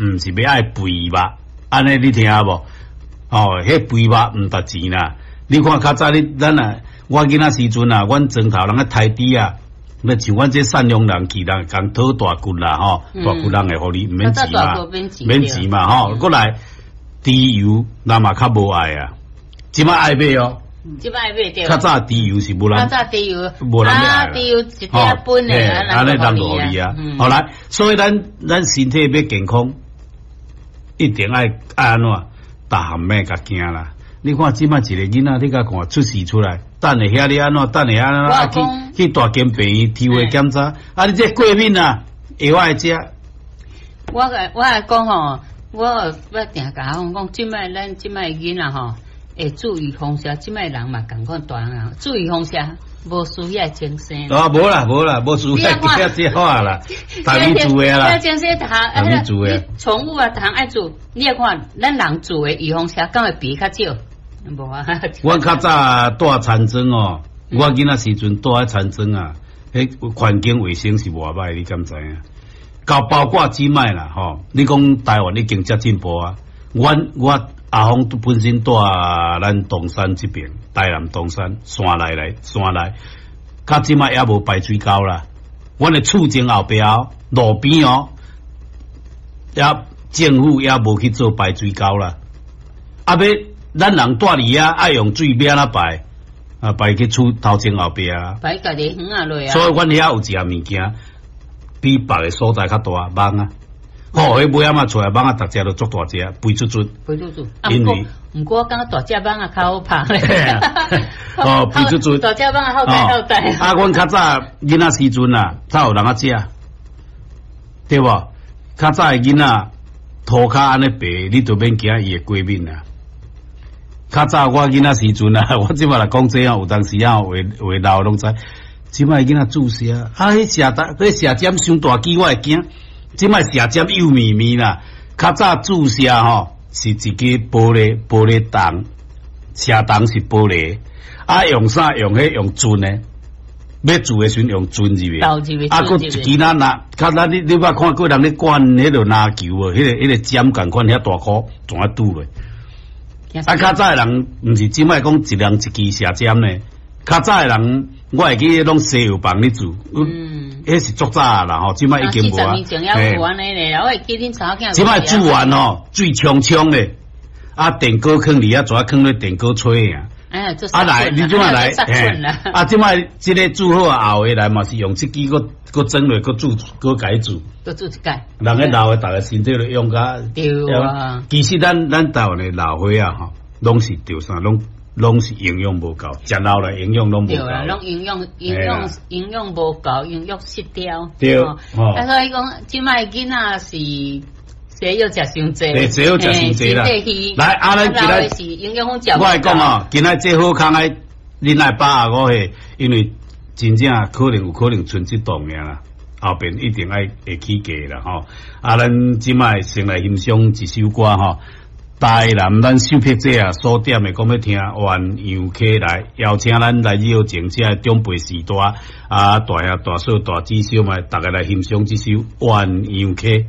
毋是欲愛肥肉，按呢你聽無？哦，彼肥肉毋值錢啦。你看較早你咱啊，我囡仔時陣啊，阮莊頭人咧刣豬啊，那像阮這贍養人去，人共討大骨啦吼，大骨人會予你毋免錢嘛，免錢嘛吼。閣來豬油，人嘛較無愛啊，這擺愛買哦。這擺愛買對。較早豬油是無人，較早豬油無人欲愛。豬油一點半的，按呢人就予你啊。好來，所以咱咱身體欲健康，一定愛愛按怎，逐項欲共驚啦。你看這擺一個囡仔，你共看出世出來，等下遐咧按怎，等下按怎去去大間病院抽血檢查，啊！你這過敏啊，藥愛食。我我來講吼，我我定共講講，這擺咱這擺囡仔吼，會注意風邪，這擺人嘛仝款大人，注意風邪，無需要精神。啊，無啦無啦，無需要這話啦，逐日做的啦。精神，逐日做的。寵物啊，逐項愛注，你愛看咱人注的預防射，敢會比較少？無啊。阮較早蹛田莊哦，我囡仔時陣蹛佇田莊啊，彼環境衛生是偌歹，你敢知影？到包括這擺啦吼，你講台灣已經遮進步啊，阮我阿峰本身蹛咱東山這邊，台南東山山內來山內，較這擺猶無排水溝啦。阮的厝前後壁路邊哦，也政府猶無去做排水溝啦。啊，欲咱人蹛佇遐愛用水欲按怎排？啊，排去厝頭前後壁啊。排家己園仔落啊。所以阮遐有一項物件，比別个所在較大蠓仔。吼，彼尾仔嘛出來蠓仔，逐隻都足大隻，肥嘟嘟。肥嘟嘟。因為毋過我感覺大隻蠓仔較好拍咧。哦，肥嘟嘟。大隻蠓仔好帶好帶。啊，阮較早囡仔時陣啊，才有人仔食，對無？較早的囡仔塗跤按呢白，你就免驚伊會過敏啊。較早我囡仔時陣啊，我這擺來講這樣，有當時啊，話話老攏知。這擺囡仔注射啊，彼射針，彼射針傷大支，我會驚。這擺射針幼綿綿啦，較早注射吼是一支玻璃玻璃筒，射筒是玻璃，啊用啥用彼用錞的，欲注的時陣用錞入去，啊，閣一支咱拿，較咱你你捌看過人咧灌彼落籃球無？彼個彼個針仝款遐大箍，怎啊拄落？啊，較早的人毋是這擺講一人一支射針呢？較早的人，我會記攏西藥房咧做，彼是足早啦吼，這擺已經無啊。這擺注完吼，水沖沖的，啊，電鍋囥佇遐，怎啊囥咧電鍋吹啊？啊來，你這擺來，啊，這擺這个注好後的來嘛是用這支閣閣裝落，閣注閣共伊注。閣注一擺。人咧老的，逐个身體都用甲。對啊。其實咱咱台灣的老歲仔吼，攏是著啥，攏攏是營養無夠，食老來營養攏無夠。對啊，攏營養營養營養無夠，營養失調。對。啊，所以講，這擺囡仔是西藥食傷濟。對，西藥食傷濟啦。來，啊，咱今仔我來講哦，今仔這好康愛，恁愛85歲，因為真正可能有可能賰這檔爾啦，後邊一定愛會起價啦吼。啊，咱這擺先來欣賞一首歌吼。台南咱秀碧姐啊所點的，講欲聽鴛鴦溪來邀請咱來熱情這的長輩序大啊，大兄大嫂大姊小妹，逐家來欣賞這首鴛鴦溪。